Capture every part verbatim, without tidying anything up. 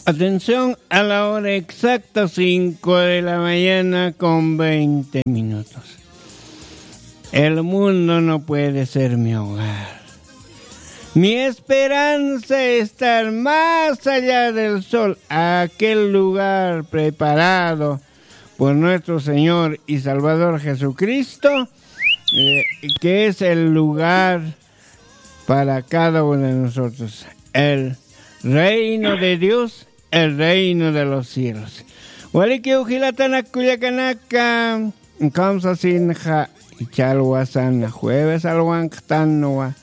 Atención, a la hora exacta, cinco de la mañana con veinte minutos. El mundo no puede ser mi hogar. Mi esperanza es estar más allá del sol, aquel lugar preparado por nuestro Señor y Salvador Jesucristo, eh, que es el lugar para cada uno de nosotros. El reino de Dios, el reino de los cielos. Walikiw jilatanak kullakanaka, kamsasinxa, ichal wasana, jueves alwanqtanwa,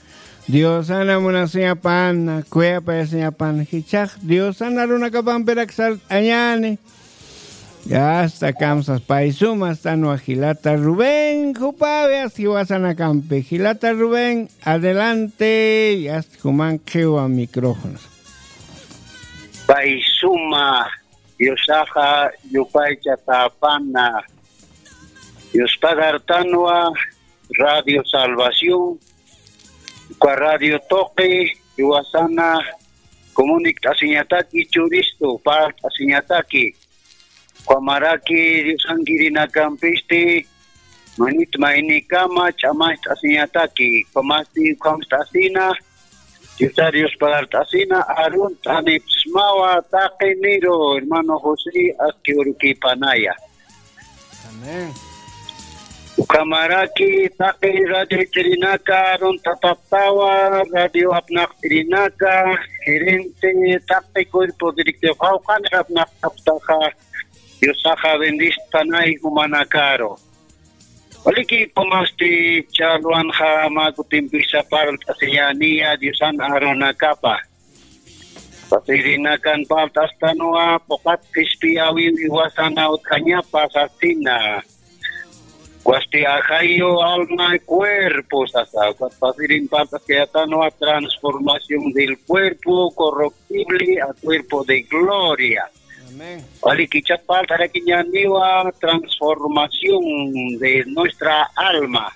Diosana munasiñapana, kuyapayasiñapana, jichhax Diosana runakapampirak sart'añani. Yasta kamsas paysumas tanwa jilata Rubén, jupawi aski wasanakampi. Jilata Rubén, adelante, yasta juman qhiwa micrófonos. Paysuma, Diosaxa yupaychatäpana, Diospagartanwa, Radio Salvación, uka radio tuqi, jiwasana, comunikt'asiñataki, churistu, parlt'asiñataki. Ukhamaraki Diosankirinakampisti, manit maynikama, ch'amacht'asiñataki, ukhamasti, ukhamst'asina, Diosar Diosparlt'asina, arunt'anipsmawa, taqiniru, hermano José, aski urukipanaya. Amén. Ukhamaraki taqi radio chirinaka, arunt'apaptawa, radio apnaqt'irinaka, gerente, taqi cuerpo directivo, qawqani apnaqtaptaxa, Diosaxa bendispanay jumanakaru. Waliki, ukhamasti challwanxa mä kutimpisa parlt'asiñäniya Diosan arunakapa. Pasirinakan parlt'astanwa, puqat qhispiyäwiw jiwasana utjañapa sasina. Ukasti ajayu alma cuerpo sasa, ukat pasirin parlt'askayätanwa transformación del cuerpo corruptible a cuerpo de gloria. Amén. Walikichap parlt'arakiñäniwa transformación de nuestra alma.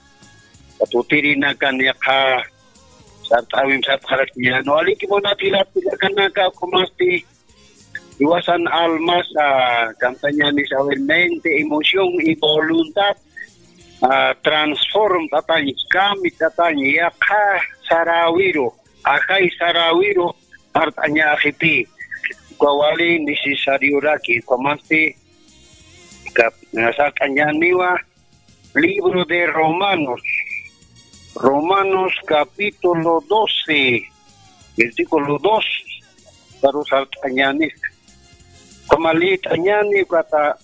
Ukat utirinakan yaqha sart'äwimp sart'arakiñäni. Waliki munat jilat kullakanaka, ukhamasti jiwasan almasa, kamsañänis, a ver, mente, emoción y voluntad, ah, transformt'atañ, cambiat'atañ, yaqha saräwiru, ajay saräwiru, sart'añäxiti. Uka wali necesarioraki, ukhamasti, kap-, sart'añäniwa, libro de Romanos, Romanos capítulo doce, versículo dos, karu sart'añäni. Ukhama leet'añäni, ukata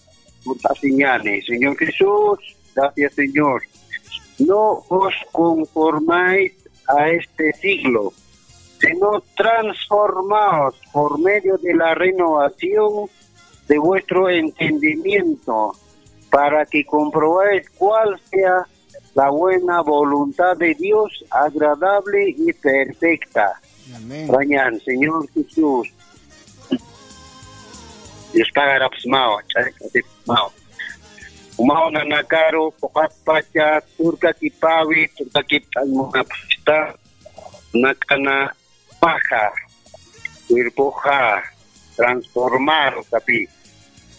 sart'asiñäni. Señor Jesús, gracias, Señor. No os conformáis a este siglo, sino transformaos por medio de la renovación de vuestro entendimiento, para que comprobáis cuál sea la buena voluntad de Dios, agradable y perfecta. Amén. Rañan, Señor Jesús. Dios pagarapsmawa, ch'arikasipsmawa. Umaw nanakaru, puqat pacha, turkakipäwi, turkakipt'añ munapxta, nak'ana, paja, cuerpoxa transformar, ukapi.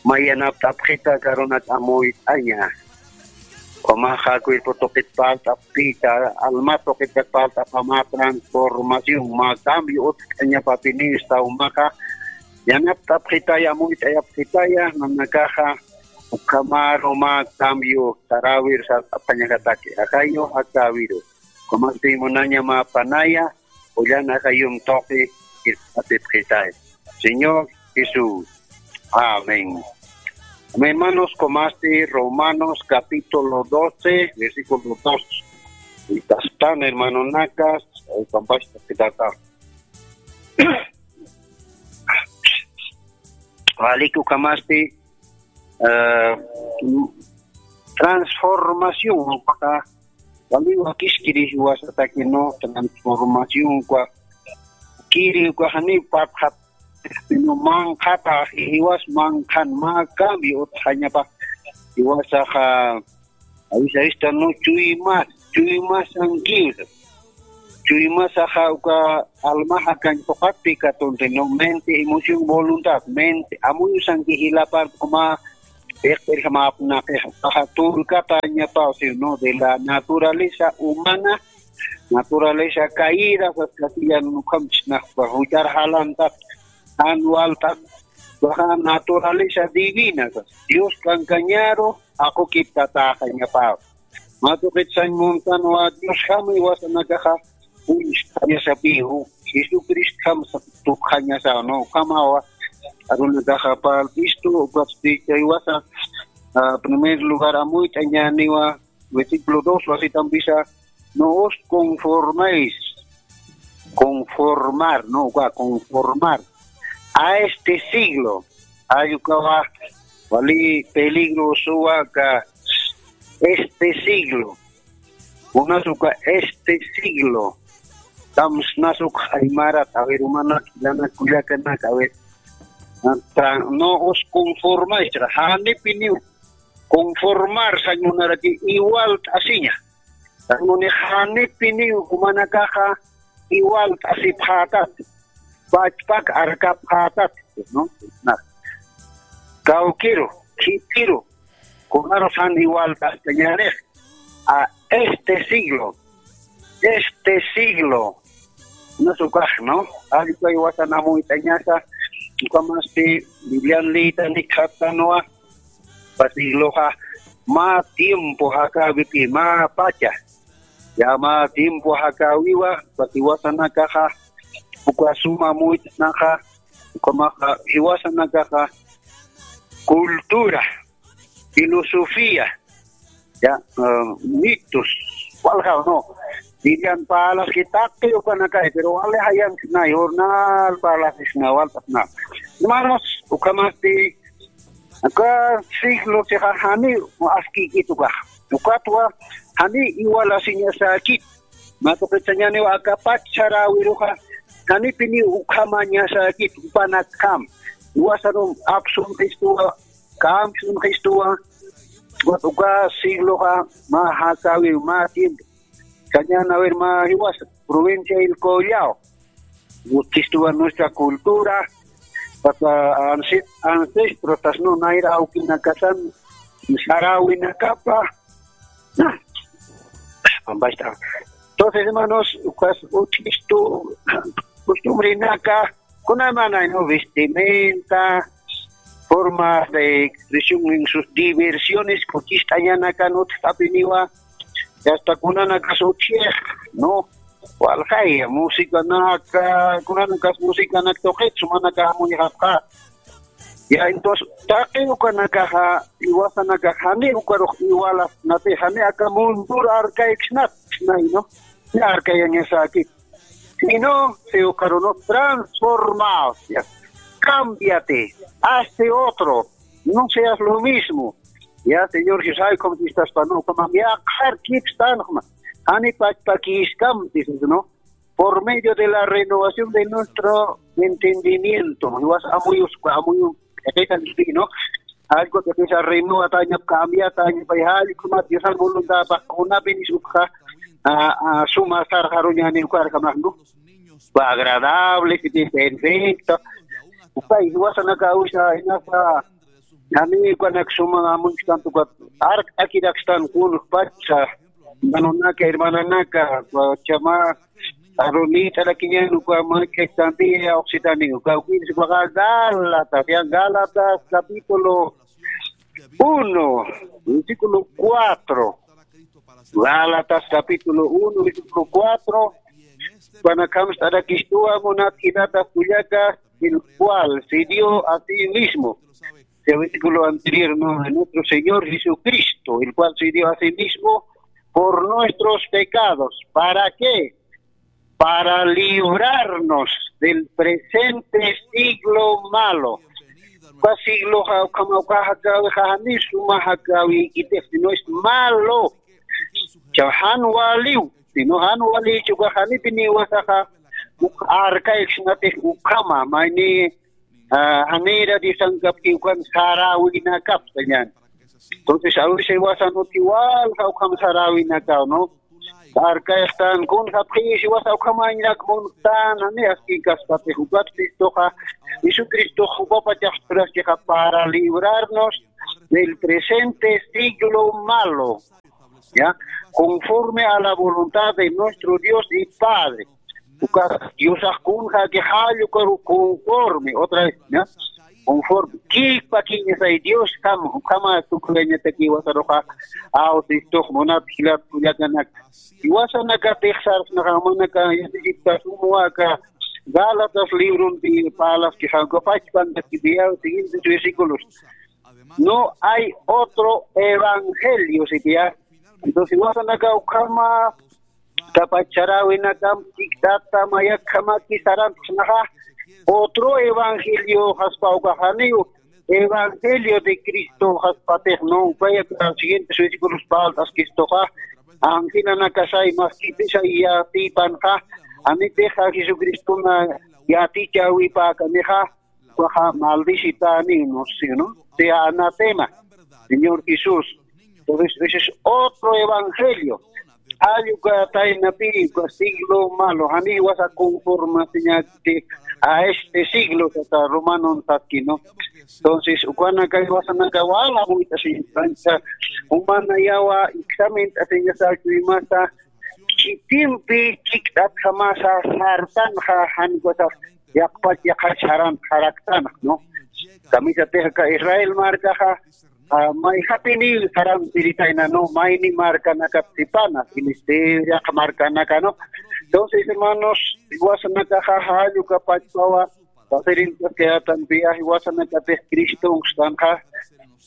Mä yanapt'apxita karunak amuyt'aña. Ukhamaxa cuerpo tuqit parlt'apxita, alma tuqit parlt'apxta, mä transformación, mä cambio utjt'añapapini, esta umaxa yanapt'apxitaya, amuyt'ayapxitaya, nanakaxa ukhamaru mä cambio saräwir sart'apxañakataki, ajayu jakäwiru. Ukhamasti munaña mä panaya, Julián ajayum tuqi, atipxitay. Señor Jesús. Amén. Amén, hermanos, ukhamasti Romanos capítulo doce, versículo dos. Y tastan, hermanonakas, eh, kampasta kitata. Walik ukhamasti, eh, transformación, ukaxa, wali wakiskiri jiwasataki, no, transformación, uka, kiri, uka, jani, patxat, sino manqhata, jiwas manqhan, mä cambio utjañapa, jiwasaxa, a veces esta no chuymas, chuymas ankiwsa. chuymasaxa uka almaxa kañ phuqatpi katunti, ¿no? Mente, emoción, voluntad, mente, amuyusanki jilapar, como, iqp'irjamapnaqixa, paxa tulkatañapaw, ¿no? De la naturaleza humana, naturaleza caída, sas castellano, ukham chisnaqpa, juchar jalantat, jan waltat, paxa naturaleza divina, sas, Dios kankañaru, aqukiptataxañapaw. Mä tuqit sañ muntanwa Diosjama iwasanakaxa uñst'añasapiw, Jesucristjam tukxañasaw, ¿no? Ukhamawa arunakaxa parlt'istu, ukatsti chaywasax, ah, primer lugar amuyt'añäniwa, versículo dos, así también dice, no os conforméis, conformar, ¿no? Uka conformar a este siglo. Ay ukawa wali peligrosowa aka este siglo. Unas uka este siglo. Tamsnas uk aymarat, a ver, umanak, ilanak, kullakanak, a ver. Ata, no os conforméis, janipiniw conformar sañ munaraki, igual t'asiña. Sañ muni janipiniw umanakaxa igual t'asipxätat, pachpak arkapxätat, ¿no? Na. Kawkiru, khipiru, kunarus jan igual t'astañänix. A este siglo, este siglo, no es ukax, ¿no? Allpa iwasan amuyt'añasa, ukhamasti Biblian liyta nikxatanwa, uka sigloxa mä tiempo jakäwipi, mä pacha, ya mä tiempo jakäwiwa, uka iwasanakaxa, uka suma amuyt'añaxa, ukhamaxa, iwasanakaxa, cultura, filosofía, ya, ah, mitos, walja, ¿no? Dirían, parlaski taqi ukanakay, pero wali jayankisnay, jornal parlasisna, waltasna. Hermanos, ukhamasti, uka siglo sixa jani askïkit ukax. Ukatwa, jani igual asiñasäkit. Mä tuqit sañäniwa aka pach saräwiruxa, janipiniw ukhamañasäkit, jupanakjam. Iwasarum apsunxistuwa, kamsunxistuwa, uka sigloxa, mä jakäwiw, mä tiempo. Sañäni, a ver, mä jiwas, provincia El Collao. Utjistuwa nuestra cultura, pata ansi-, ancestros, tasnu nayra awkinakasan, saräwinakapa. Entonces, hermanos, ukas utjistu, costumbrenaka, kunaymanay, ¿no? Vestimenta, formas de expresión en sus diversiones, kuchist'añanakan utjt'apiniwa, y hasta kunanakas utjix, ¿no? Waljaya, musicanaka, kunanakas musicanak tuqit, sumanaka amuyxapxa. Ya, entonces, taqi ukanakaxa, iwasanakax jani ukarux igualasnati, jani aka mundur arkayksnat, nay, ¿no? Ni arkayañasakit. Sino, se ukaruno transformaos, ya. Cámbiate, hazte otro, no seas lo mismo. Ya, Señor Jesús, ay, como si estás pa, no, como me ajar, keep stand, como, ani pa, pa, ki scam, dices, ¿no? Por medio de la renovación de nuestro entendimiento. Iwas amuyus, amuyu, ¿no? Algo que empieza a renovar, taña, cambia, taña, pa, algo más, Dios al voluntad, pa, una vez, a, a, suma, sar, jaruña, ni, cual, jamás, ¿no? Fue agradable, que es perfecto. Upa, iwasanaka, usa, inasa, Jani ukanak suma amuchktan tukat, ark akirakstan kun pacha, hermanonaka, hermananaka, chama, arunita la kiñan uka, manchektanti, oxitani, uka, uka, Gálatas, ya, Gálatas, capítulo uno, versículo cuatro. Gálatas, capítulo uno, versículo cuatro. Panakam stara kistua, munat, el cual se dio a sí mismo. El versículo anterior, ¿no? De nuestro Señor Jesucristo, el cual se dio a sí mismo por nuestros pecados. ¿Para qué? Para librarnos del presente siglo malo. Uka siglo ja-, ukhama uka jakawi, jani suma jakawi, itix, sino es malo. Cha jan waliw, sino jan wali chuka janipiniwa saja, uk arkayksnatix ukhama, mayni, ah, janira Diosankapki ukan saräwinakap sañan. Entonces, a veces iwasan uti walja ukham saräwinakaw, ¿no? Arkayxtan kun japxi, siwasa ukhamañrak munktan, jani aski kaspatix ukat Cristoxa, Jesucristox jupapachax churaskixa para librarnos del presente siglo malo, ¿ya? Conforme a la voluntad de nuestro Dios y Padre. Uka Diosax kunxa que jallukaru conforme, otra vez, ¿ya? Conforme. Kipa kiñasay Dios kam, kama tukuyañataki wasaruxa, aw, Cristox munat jilat kullakanak. Iwasanakatix sarxnaxa manaka yatichipta sumwaka, Gálatas libronpi parlaskixa, uka pachpan, siguientes versículos. No hay otro evangelio, sitiyá. Entonces, iwasanaka ukhama, kapachxaräwinakam chikt'ata mayakjamaki sarantsnaxa, otro evangelio jaspa ukaxaniw, evangelio de Cristo jaspatix, ¿no? Ukaya siguientes versículos parlt'askistuxa, angelanakasay maskipisa yatipanxa, anitixa Jesucristona yatichäwipäkanixa, ukaxa maldicitäniw, ¿no? ¿Sí, no? Sea anatema, Señor Jesús. Entonces, ese es otro evangelio. Jall uka taynapi, uka siglo malo, jani wasa conformasiñäti a este siglo, sata Romanon satki, ¿no? Entonces, ukanaka iwasanaka wala muyt'asiñasa, umanayawa examen t'asiñasa, chuymasa, khitimpi chikt'atjamasa sartanxa, jan ukasax yaqpach yaqhach jaran jaraktanx, ¿no? Kamisatix aka Israel markaxa, ah, mayjapiniw sarantiritayna, ¿no? Mayni markanakat sipana, Filistea markanaka, ¿no? Entonces, hermanos, iwasanakaxa jall uka pachpawa, sacerdotes quedatanpiya, iwasanakatix Cristonxtanxa,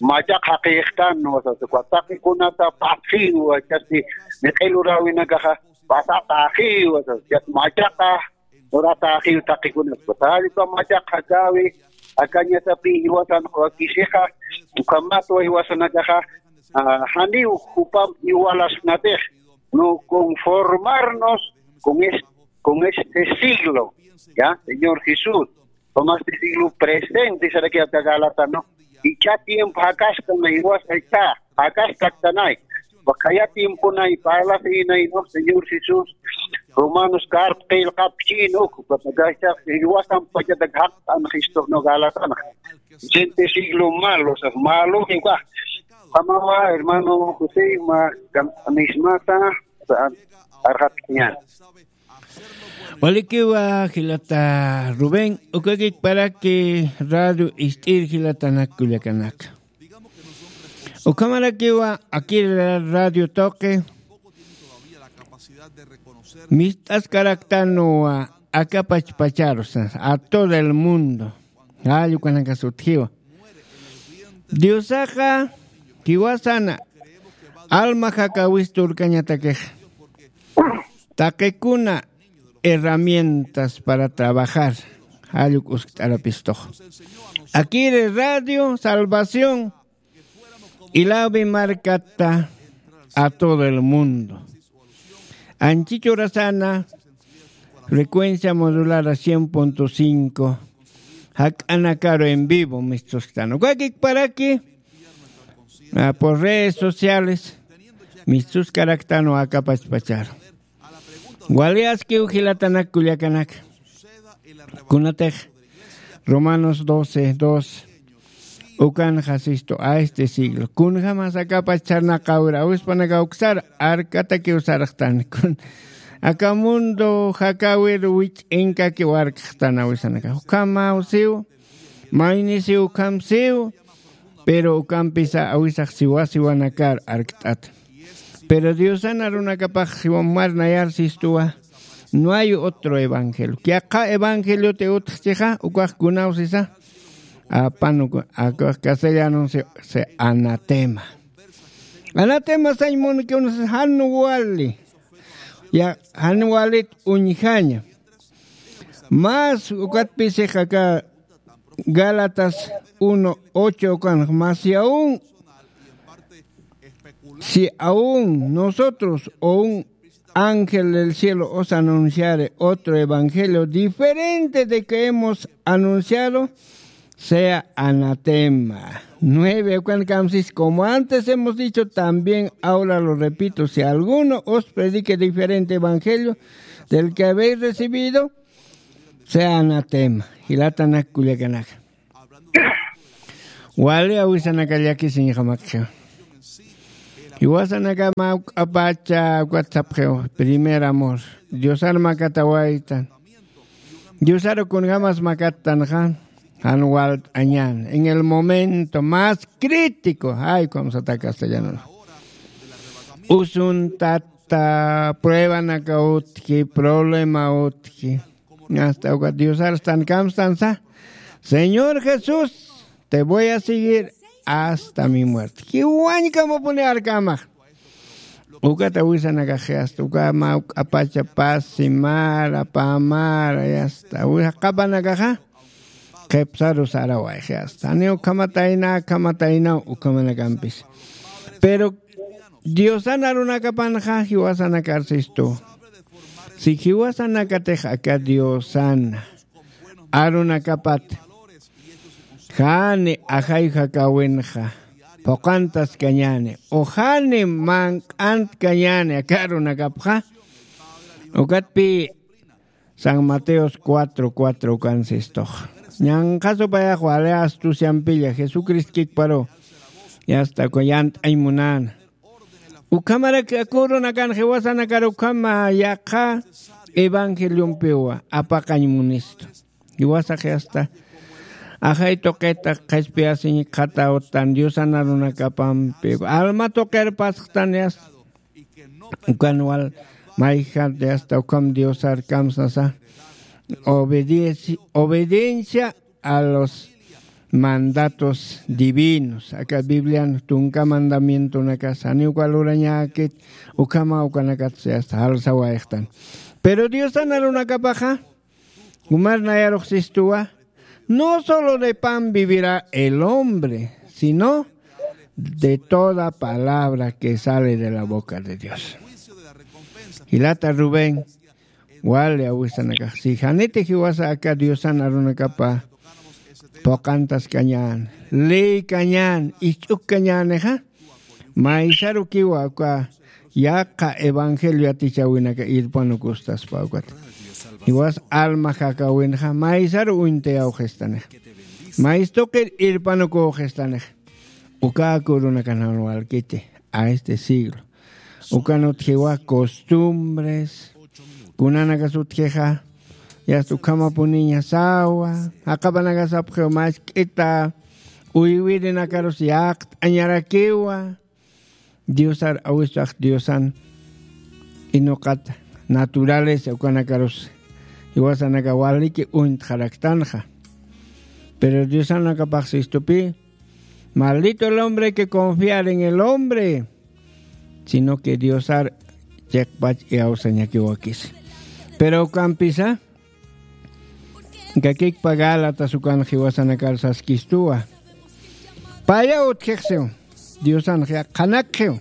machaq jaqïxtan, ¿no? Sasa, uka taqikunata patxiw, chasti, miq'iluräwinakaxa, pasataxiw, sasa, machaqa, uratäxiw taqikunaspa. Jall uka machaq jakäwi, akañasapi iwasan wakisixa, ukhamatwa iwasanakaxa, ah, janiw jupamp iwalasnatix, no conformarnos con es-, con este siglo, ¿ya? Señor Jesús, jupamasti siglo presente, saraki aka Gálatas, ¿no? Ichha tiempo jakastan, iwasa ichha jakastaktanay. Uka khaya tiemponay parlasinay, ¿no? Señor Jesús, Romanos karp qillqapchin uk, uka khaya iwasan pachatak jaqt'an Cristo, ¿no? Gálatas, ¿no? Presente siglo malo, o sea, malo, igual. Jamawa, hermano José, ma, kam-, mismata, o sea, arjatkiñan. Walikiwa, jilata Rubén, ukakikparaki radio ist'ir jilatanak kullakanaka. Ukhamarakiwa, akir radio tuqi, mist'askaraktanwa, akapach pacharu, a todo el mundo. Jall ukanakasa utjiwa. Diosaxa, jiwasana, alma jakäwista urkañatakixa. Taqikuna herramientas para trabajar. Jall uk uskt'arapistux. Akiri Radio Salvación, Ilawi markata, a todo el mundo. Anchhita urasana, frecuencia modulada cien punto cinco, jak'anakaru en vivo, mistusktan. Ukakikparaki, ah, por redes sociales, mistuskaraktanwa akapach pacharu. Wali askiw jilatanak kullakanaka. Kunatix Romanos doce, dos. Ukanxa sistu a este siglo. Kunjamas akapach sarnaqäwir awispanakax uksar arkatakiw sarxtan. Kun aka mundo jakäwir wich'inkakiw arkxtan awisanakax. Ukhamaw siw, maynisiw ukham siw, pero ukampisa awisax siwa siwanakar arkt'at. Pero Diosan arunakapax siwam marnayar sistuwa, no hay otro evangelio. Yaqha evangelioti utjchixa, ukax kunaw sisa, apan uka, ukax castellanonsi, se anatema. Anatema sañ munkiw unas jan wali. Ya, jan walit uñjaña. Más ukatpisi aka Gálatas uno ocho ukan, mas si aún, si aún nosotros o un ángel del cielo os anunciare otro evangelio diferente de que hemos anunciado, sea anatema. nueve, ukan kamsis, como antes hemos dicho, también ahora lo repito, si alguno os predique diferente evangelio del que habéis recibido, sea anatema. Jilatanak kullakanaka. Wali awisanaka llakisiñjamakxa. Jiwasanaka mawk'apacha ukat sapxiw, primer amor. Diosar makatawaytan. Diosar kunjamas makattanxa, jan walt'añan. En el momento más crítico, ay, ¿cómo se está castellano? Usuntata, pruebanaka utji, problema utji. Hasta ukat Diosar stan kamstansa, Señor Jesús, te voy a seguir hasta mi muerte. Jiwañkamapuni arkamax. Ukat awisanakaxi hasta uka mawk'apacha pasi mara, pamara, y hasta uka qapanakaxa qhipsaru sarawayxi hasta. Janiw khamatayna, khamataynaw ukhamanakampis. Pero Diosan arunakapanxa jiwasanakar sistu. Si jiwasanakatix aka Diosan arunakapat jani ajay jakäwinxa phuqantaskañäni, o jani manq'antkañäni aka arunakapxa, ukatpï San Mateos cuatro cuatro ukan sistux. Ñanqha supayax wali astuciampilla Jesucristo kikparu, y hasta uka yant'añ munäna. Ukhamarak aka urunakan jiwasanakar ukhama yaqha evangeliompiwa apaqañ munistu. Jiwasax hasta ajay tuqita qhispiyasiñ qhatäwtan Diosan arunakapampi alma tuqir pasxtan, hasta ukan wal mayjat, hasta ukham Diosar kamsasa obediencia, obediencia a los mandatos divinos. Aka Biblian tunka mandamientonakas janiw uka lurañäkit, ukhama ukanakat hasta jalsawayxtan. Pero Diosan arunakapaxa jumar nayarux sistuwa, no solo de pan vivirá el hombre, sino de toda palabra que sale de la boca de Dios. Jilata Rubén, wali awisanakax, si janiti jiwasa aka Diosan arunakapa phuqantaskañän, leykañän, isch'ukkañänixa, maysarukiwa uka yaqha evangelio yatichäwinaka irpanukustaspa ukat. Jiwas alma jakäwinxa maysaru uñtayawxistanix. Maystuqir irpanuküwxistanix. Uka aka urunakan jan walkiti a este siglo. Ukan utjiwa costumbres, kunanakas utjixa, yasta ukhamapuniña sawa, jaqapanakas sapxiw mask'ita uywirinakarusa yaqt'añarakiwa. Diosar awistax Diosan inuqat naturaleza ukanakarus jiwasanaka waliki uñtxaraktanxa. Pero Diosanakapax sistupi, maldito el hombre que confiar en el hombre, sino que Diosar chiqpach iyawsañakiwakis. Pero ukampisa, kakikpa Gálatas ukan jiwasanakar saskistuwa. Paya utjixsiw, Diosan qhanakxiw.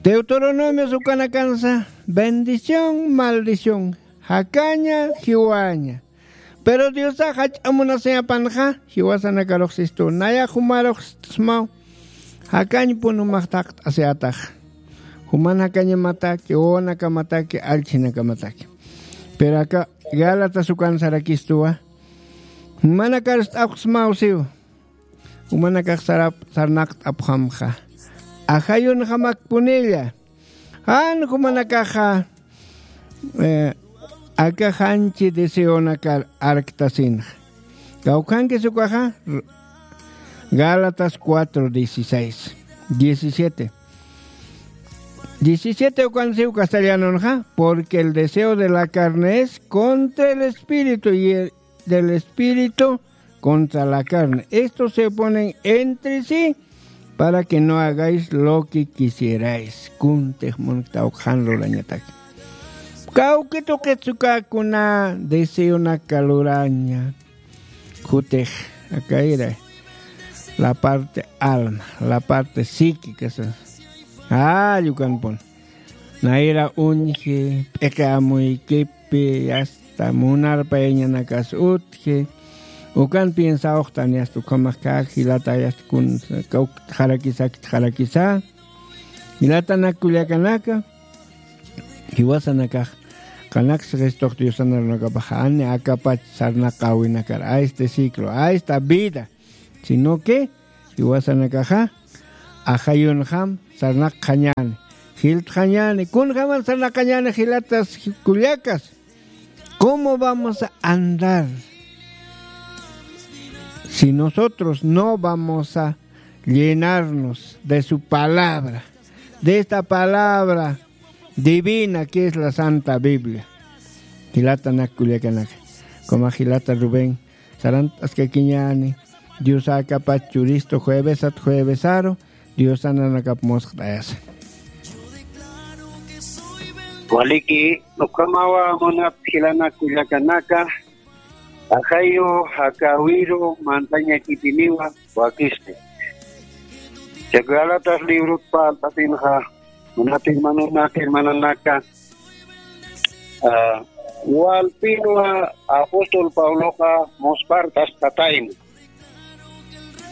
Deuteronomios ukanakansa, bendición, maldición, jakaña, jiwaña. Pero Diosax jach'a munasiñapanxa, jiwasanakarux sistu, nayax jumarux smaw, jakañpun jumax thaqt'asiyätax. Juman jakañamataki, wawanakamataki, allchhinakamataki. Pero aka Gálatas ukan sarakistuwa, jumanakar st'apxsmaw siw. Jumanakax sarap-, sarnaqt'apxamxa. Ajayunxamakpunilla. Jan jumanakaxa, eh, aka janchi deseonakar arktasinxa. Kawkhankis ukaxa, Gálatas cuatro dieciséis, diecisiete. Diecisiete ukan siw castellanonxa, porque el deseo de la carne es contra el espíritu y el del espíritu contra la carne. Estos se oponen entre sí para que no hagáis lo que quisierais. Kuntix munktaw qhan lurañatak. Kawki tuqit uka kuna deseonaka luraña. Kutix akayra. La parte alma, la parte psíquica, sa. Ay, ukanpun. Nayra uñji, p'iqi amuykipi, hasta munarpayañanakas utji, Ukan piensawxtani asta ukhamax kak jilata asta kun kauk jarakisakit jarakisa. Jilatanak kullakanaka, jiwasanakax qanaksa Jesucristo Diosanarunakapax ani akapach sarnaqawinakar a este ciclo, a esta vida, sino que jiwasanakaxa ajayunxam sarnaqxañäni, jiltxañäni. Kunjaman sarnaqañäni jilatas kullakas. ¿Cómo vamos a andar si nosotros no vamos a llenarnos de su palabra, de esta palabra divina que es la Santa Biblia? Jilatanak kullakanaka, como jilata Rubén, sarant'askakiñäni Dios akapach churistu juevesat juevesaru, Diosananakap musqt'ayasa. Waliki, ukhamawa munat jilanak kullakanaka, ajayu, jakäwiru, mantañakipiniwa, wakisti. Gálatas librot parlt'asinxa, munat hermanonaka, hermananaka, ah, walpinwa apóstol Pabloxa muspart'askatayna.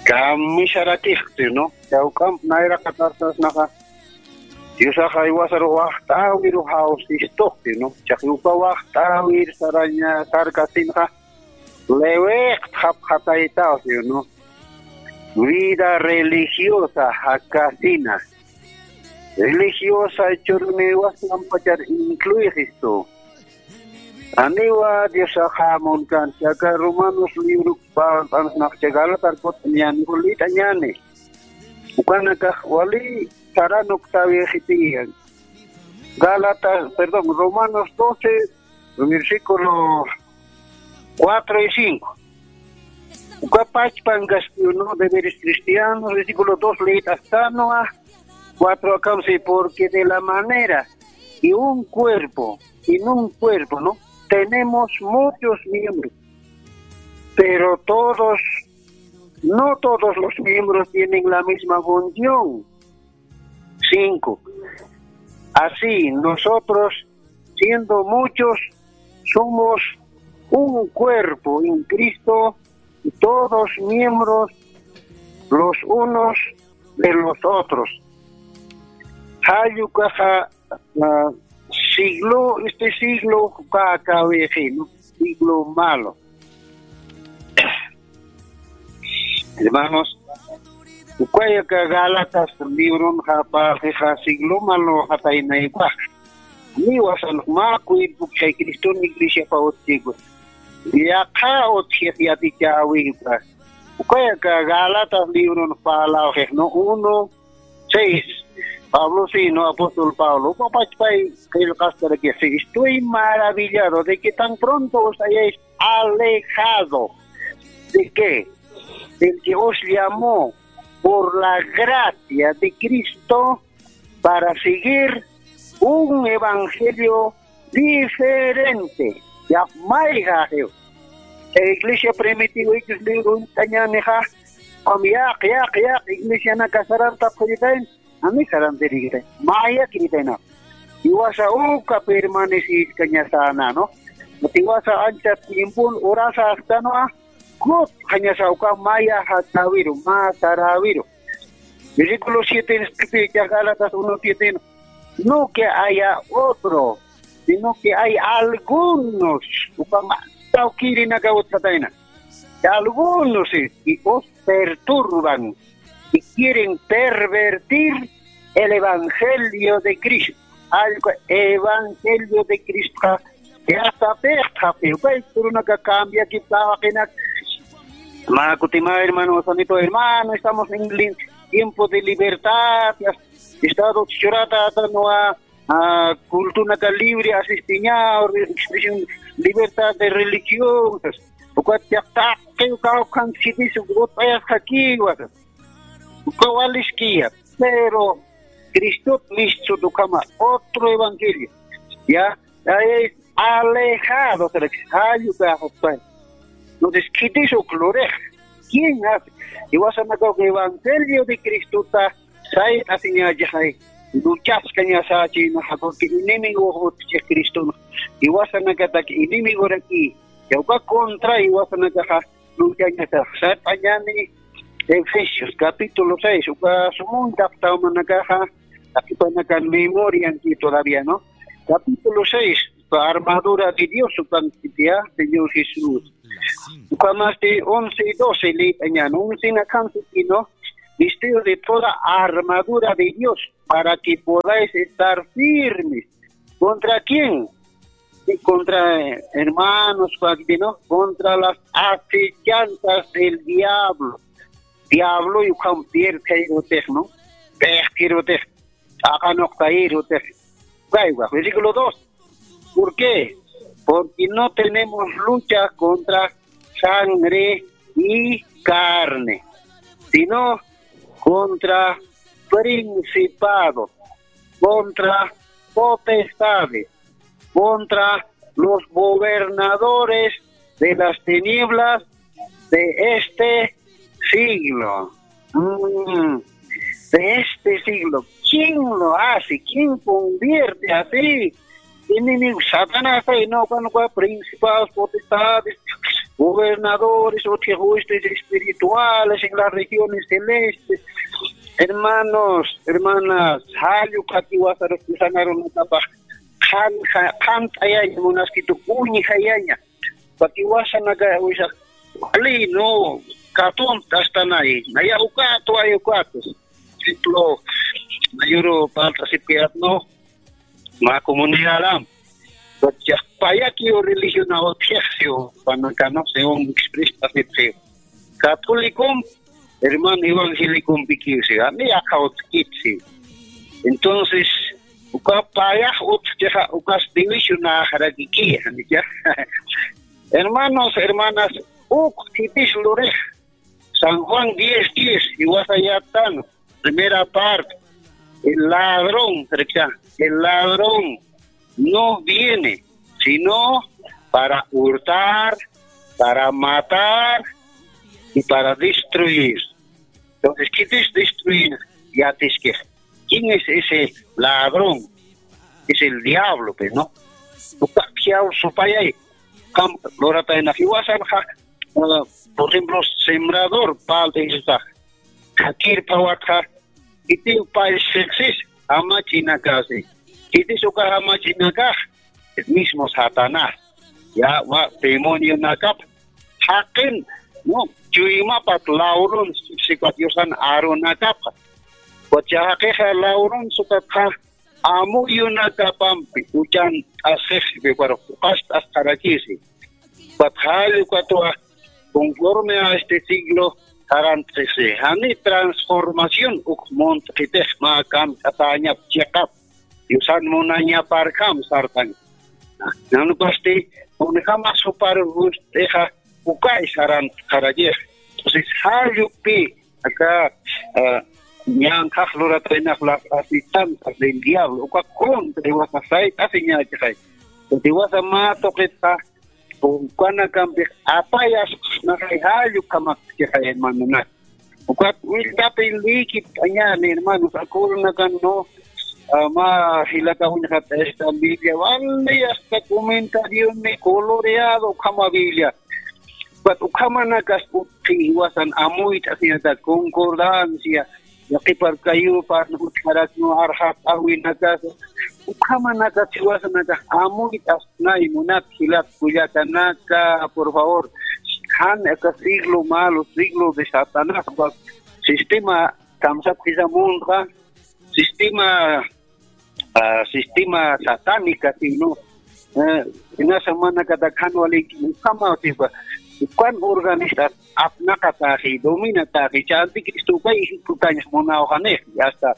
Kamisarakixti, ¿no? Chawk'amp nayraqatartasnaxa, Diosaxa jiwasaru waxt'äwiru jawsistuxti, ¿no? Chaqi uka waxt'äwir saraña sarkasinxa, lewiqtxapxataytawsi, ¿no? Vida religiosa jakasina. Religiosa churuniwasampachar incluixistu. Aniwa Diosaxa munkan, chaka Romanos libro parlt'ansnax, chaka Gálatas kut'añäni, lït'añäni. Ukanakax wali saranuktäwixitiya. Gálatas, perdón, Romanos doce, versículo cuatro y cinco. Uka pachpankasti, ¿no? Deberes cristianos, versículo dos, lït'astanwa, cuatro akamsi, porque de la manera que un cuerpo, en un cuerpo, ¿no? Tenemos muchos miembros, pero todos, no todos los miembros tienen la misma función. Cinco. Así, nosotros, siendo muchos, somos un cuerpo en Cristo, y todos miembros los unos de los otros. Jall ukaxa, ah, siglo, este siglo, uka akäwixi, ¿no? Siglo malo. Hermanos, ukaya aka Gálatas libronxa parlxixa siglo malo jataynaywa. Niwa san mä cuerpo kay Criston iglesiapa utjkwa. Yaqha utjix yatichäwiwa. Ukaya aka Gálatas libron parlawxix, ¿no? Uno, seis. Pablo, sí, ¿no? Apóstol Pablo. Uka pachpay qillqastarakixi: "Estoy maravillado de que tan pronto os hayáis alejado de qué? Del que os llamó por la gracia de Cristo para seguir un evangelio diferente". Ya, mayjaxiw. Iglesia primitiva ichus libro uñt'añänixa, como yaq, yaq, yaq, iglesianaka sarantapxiritayn, ani sarantirikitay. Maya kiritayna. Jiwasa uka permaneciskañasäna, ¿no? Jiwasa ancha tiempon urasa astanwa, kutxañasa uka maya jatäwiru, mä saräwiru. Versículo siete, escribe Gálatas uno siete, no que haya otro, sino que hay algunos, uka mä tawkirinaka utjatayna. Algunos, eh, que os perturban y quieren pervertir el evangelio de Cristo. Allqu evangelio de Cristoxa yatapixtxapxi, uka turunaka cambiakiptawaqinak. Mä kutima, hermano Sanito, hermano, estamos en li-, tiempo de libertad, ya, Estado churata, tanwa, ah, cultunaka libre asistiña, expresión, libertad de religión, ukat yaqtaqi uka ukan sitis ut'ayasqakiwa. Uka waliskiya, pero Cristot mistsut ukhama otro evangelio. Ya, ya es alejado, se le jall uka. Entonces, ¿khitis uk lurix? ¿Quién hace? Jiwasanakax evangelio de Cristota sayt'asiñächixay, luchaskañasächinaxa, porque enemigo utjchi Criston. Jiwasanakatak enemigoraki, ya uka contra jiwasanakaxa, Ukañatax sat'añani Efesios capítulo seis, uka sumuntaq tawmanakaxa, taqipanakan memorianki todavía, ¿no? Capítulo seis, uka armadura de Dios, ukan sitiya, Señor Jesús. Ukamasti once y doce leyt'añan, once nakan sitino, vestido de toda armadura de Dios, para que podáis estar firmes. ¿Contra quién? Sí, contra, eh, hermanos, ¿no? Contra las acechanzas del diablo. Diablo y Juan Pierre Cairotej, ¿no? Pejtirotej, Ajanok Cairotej. Versículo dos. ¿Por qué? Porque no tenemos lucha contra sangre y carne, sino contra principados, contra potestades, contra los gobernadores de las tinieblas de este siglo. Mm, de este siglo. ¿Quién lo hace? ¿Quién convierte así? Enemigo, Satanás, ay, no, cuando principados, potestades, gobernadores, otros huestes espirituales en las regiones celestes. Hermanos, hermanas, jallu katiwasarus sanarunatapax, qhan, qhan, qhant'ayaña, munaskitu, uñjayaña. Katiwasanaka, uysaq, wali, no, katunt'astanay, naya ukatu, ay ukatu. Ejemplo, mayuru palt'asipkayat, no, mä comunidadam. Pues, ya, payakiw religiona utjixsiw, panakano, según exprestasipxiw. Católicom, hermano evangélicompikiw, siga, ni aka utjkitsi. Entonces, uka payax utjkixa, ukas divisionaxarakiki, ya. Hermanos, hermanas, uk khitis lurix, San Juan diez diez, iwasa yatan, primera parte, el ladrón, riksa, el ladrón no viene sino para hurtar, para matar y para destruir. Entonces, ¿qué es destruir? Ya te dije, ¿quién es ese ladrón? Es el diablo, pues, ¿no? Uka, ¿qué hago, supayay? Kam, lora tayna, iwasa, ja, ah, por ejemplo, sembrador, pal de esa. Kakir pawatxa, kitiw pay sexis, amachinakasi. Kitis uka amachinakax, el mismo Satanás. Ya, wa, demonionakap, jaqin, no, chuymapat lawrun, sipat yusan arunakapxa. Wacha jaqixa lawrun sukatxa, amuyunakapampi, uchan t'asxixi, pero ukas t'asxarakisi. Ukat jall, ukat wa, conforme a este siglo, sarantxisi. Jani transformación, uk munt'itix mä kamt'atañap chiqap, yusan munañaparkam sartan. Nanukasti, unjama supar gust'ixa, ukay sarantxarakix. Entonces, jallupi, aka, ah, ñanqhax lurataynax las asistentes del diablo, uka contra, iwasa sayt'asiñächixay. Iwasa mä tuqitxa, ukanakampix apayas, naxay jall ukhamakchixay, hermanonak. Ukat willkapin lïkipt'añäni, hermanos, acuerdonakan, no, ah, mä jilata uñxat esta Biblia, vale, hasta comentarioni coloreado, ukhama Biblia. Ukat ukhamanakas utji, iwasan amuyt'asiñata concordancia, yaqhipar kayupar utjaraknu arxat'awinakas, ukhamanakas iwasanakax amuyt'asnay munat jilat kullakanaka, por favor. Jan aka siglo malo, siglo de Satanás, uka sistema kamsapxisa munxa, sistema ah, sistema satánica, sino, eh, inasa manakata khanwaliki, ukhama, sipa, ukan organista, apnaqataxi, dominataxi, chanti Cristo ukay ejecutañax munawxanix, hasta,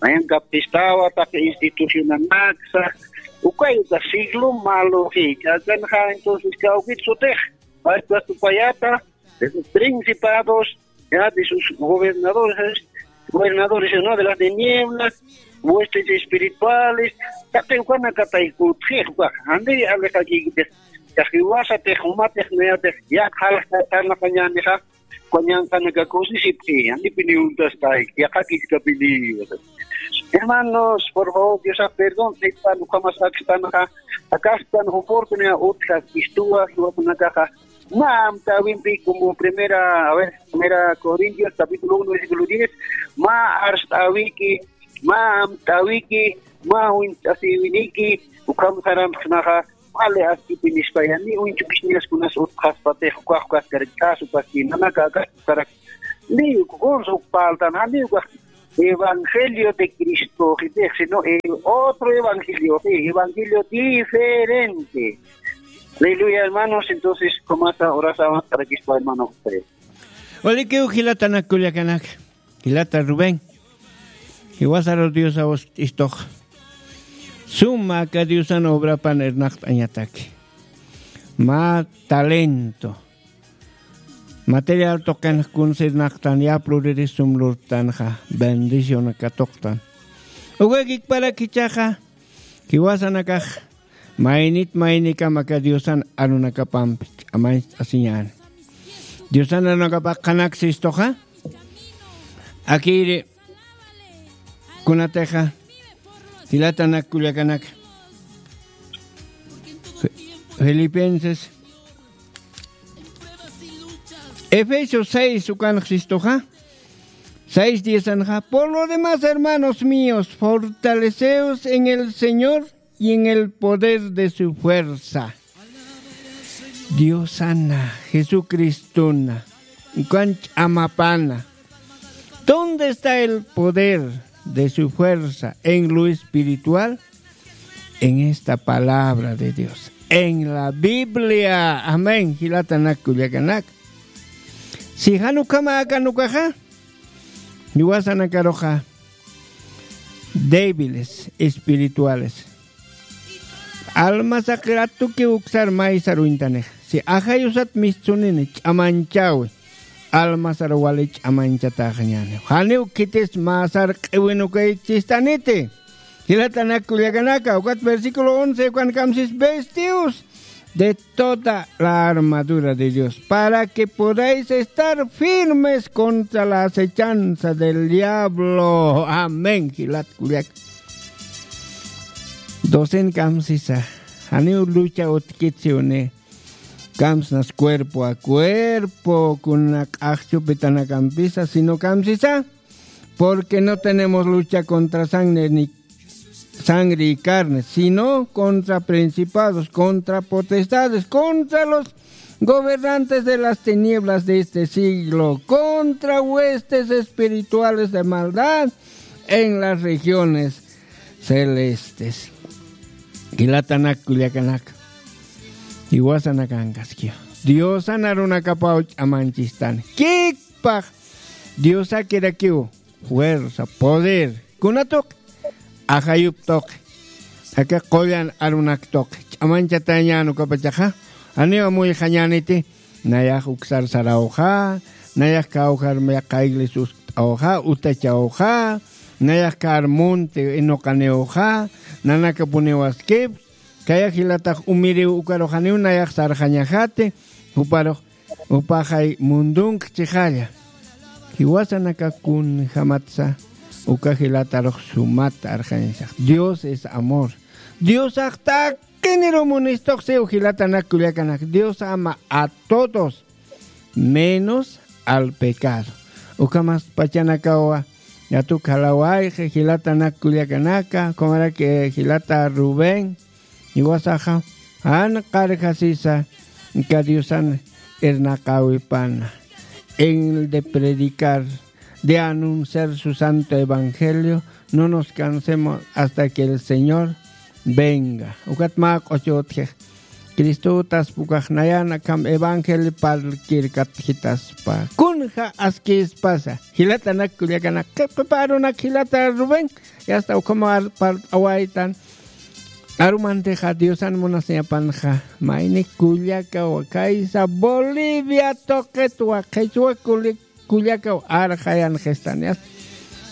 mayan kaptistawa, taqi institucionanaksa, ukay, uka siglo maloxi, chakanxa, entonces, kawkit sutix, pachpa supayata, de sus principados, ya, de sus gobernadores, gobernadores, ¿no? De las tinieblas, huestes espirituales, taqi ukanakatay kutxix, ukax, jani alixakikitix, taqi wasatix, jumatix, nayatix, ya, jalxatanakañänixa, ukañanqanaka kusisipxi, jani piniwuntaskay, yaqhakiskapini. Hermanos, por favor, Diosax perdón, sitpan, ukhamas akstanxa, akastan oportunidad utjak, istuwa, jiwasanakaxa, Mä amtawimpi, como primera, a ver, primera Corintios, capítulo uno, versículo diez, mä arst'awiki, mä amtawiki, mä uñt'asiwiniki, ukham saramsnaxa, wali askipi nispa, ya, ni uñchukisñas kunas utjaspatix, ukax ukaskar k'as, ukaski nanaka akas ukarak, ni ukunsa ukpaltan, ni ukax evangelio de Cristo, sino el otro evangelio, sí, evangelio diferente. Aleluya, hermanos. Entonces, ¿cómo está? Ahora estamos para que está, hermano José. Walikiw jilatanak kullakanaka, jilata Rubén, jiwasaru Diosaw ist'istux. Suma aka Diosan obrapan irnaqt'añataki. Mä talento material tuqinx kuns irnaqtan, yapluriri sum lurtanxa, bendición katuqtan. Ukakikparak jichhaxa, jiwasanakax maynit maynikam aka Diosan arunakapampi ch'amañcht'asiñäni. Diosan arunakap qhanaksi istuxa, akïri kunatixa, jilatanak kullakanaka. Fi-, Filipenses, Efesios seis ukanx istuxa, seis diez anxa, "Por lo demás, hermanos míos, fortaleceos en el Señor y en el poder de su fuerza." Diosana, Jesucristona, ukan ch'amapana. ¿Dónde está el poder de su fuerza en lo espiritual? En esta palabra de Dios, en la Biblia. Amén. Jilatanak kullakanaka. Si jan ukhama akan ukaxa, jiwasanakaruxa débiles espirituales. Almasaq ratuki uksar maysar uñtanixa. Si ajayusat mistsunini ch'amañchäwi, almasar wali ch'amañchataxañäni. Janiw khitis mä sarq'iwin ukaychistaniti. Jilatanak kullakanaka, ukat versículo once, ukan kamsis, "Vestidos de toda la armadura de Dios, para que podáis estar firmes contra la acechanza del diablo." Amén, jilat kullaka. Docen kamsisa, janiw lucha utkitsiwni, kamsnas cuerpo a cuerpo, kuna q'axchupitanakampisas, sino kamsisa, porque no tenemos lucha contra sangre ni sangre y carne, sino contra principados, contra potestades, contra los gobernantes de las tinieblas de este siglo, contra huestes espirituales de maldad en las regiones celestes. Jilatanak kullakanaka, jiwasanakankaskiw. Diosan arunakapaw ch'amañchistani. Kikpax Diosakirakiw fuerza, poder. Kuna tuqi? Ajayup tuqi. Aka qullan arunak tuqi. Ch'amañchatañän ukapachaxa, janiw amuyxañäniti, nayax uksar sarawxa, nayax kawkhar yaqha iglesia uskt'awxa, utachawxa, nayax kar munti inuqaniwxa, nanakapuniw askipxi, kaya jilatax umiriw ukarux janiw nayax sarxañaxati, juparux upaxay mundunk chixalla. Jiwasanaka kunjamatsa uka jilatarux sumata arxañasax. Dios es amor. Diosax taqiniru munistuxsiw jilatanak kullakanak. Dios ama a todos, menos al pecado. Ukhamas pachanakawa, yatuk jalawayxi jilatanak kullakanaka, ukhamaraki jilata Rubén, jiwasaxa, jan qarjasisa, aka Diosan irnaqäwipana, en el de predicar, de anunciar su santo evangelio, no nos cansemos hasta que el Señor venga. Ukat mä q'uchutji, Cristo utaspa ukax nayan akham evangelio parlkirkatjitaspa. Kunja askispasa, jilatanak kullakanak, qhipqhipa arunak jilata Rubén, yasta ukhama parlt'awaytan. Arumantixa Diosan munasiñapanxa, mayni kullakawa, kaysa Bolivia tuqitwa, qhichwa kullakaw arxayanxistani, yasta.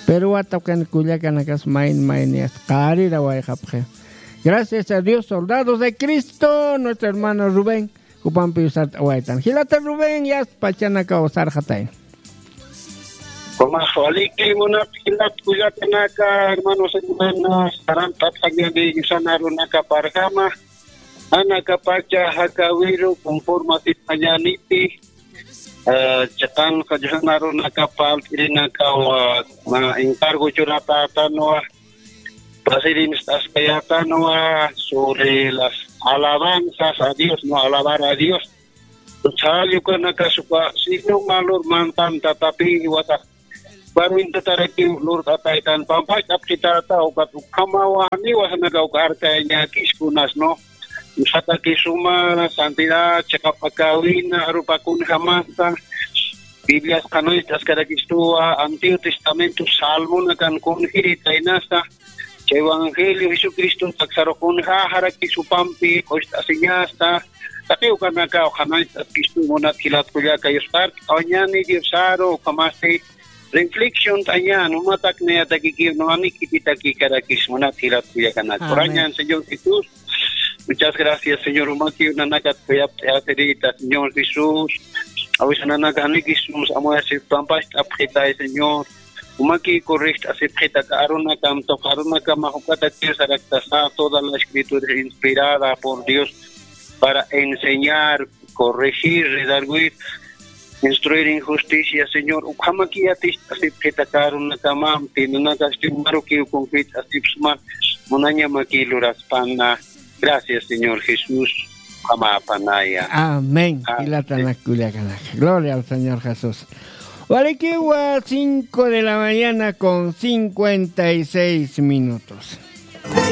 Pero watuqin kullakanakas mayni mayni, yasta, qarirawayxapxi. Gracias a Dios, soldados de Cristo, nuestro hermano Rubén, jupampiw sart'awaytan. Jilata Rubén, yasta pachanakaw sarxatayna. Jumax waliki munat jilat kullakanaka, hermanos, hermanas, sarantatxañani Diosan arunakaparjama. Anakapacha jakawiru conforme asispañaniti, eh, chiqan qallqan arunakapa alt'irinakawa, ma, encargo churatätanwa, presidencia t'askayätanwa sobre las alabanzas a Dios, no alabar a Dios. Saliukanakasupa signo malur mantan tatapi iwata. Barwintatarakiw lurt'ataytan pampacht'apxitäta ukat ukhamawa niwasanaka uka arkayañäkiskunas, ¿no? Usataki suma santidad chiqap akawina arupa kunjamasa. Biblias qhanañcht'askarakistuwa, Antiguo Testamento salmonakan kunjiritaynasa. Chay evangelio Jesucristo taksarux kunjäxarakisupampi q'ucht'asiñasa. Taqi ukanakaw qhanañcht'askistu munat jilat kullaka yuspart'awañani Diosaru ukhamasti reflexion t'añan umatak nayatakikiw nuwani khititakikirakis munat jilat kullakanaka. Amén. Urañan Señor Jesús. Muchas gracias, Señor. Umaki unanakat kuyapt'ayasirita, Señor Jesús. Awisananaka janikis sums amuyasir pampacht'apxitay, Señor. Umaki corregt'asipxitaka arunakam tuq arunakama juk'atakiw saraktasa, toda la escritura inspirada por Dios para enseñar, corregir, redarguir, instruir en justicia, Señor. Ukhamaki yatist'asipxitaka arunakamam tinanakasti umarukiw kunjit'asipsma munañamaki luraspana. Gracias, Señor Jesús. Ukhamäpanaya. Amén. Amén. Jilatanak kullakanaka. Gloria al Señor Jesús. Walikiwa, cinco de la mañana con cincuenta y seis minutos.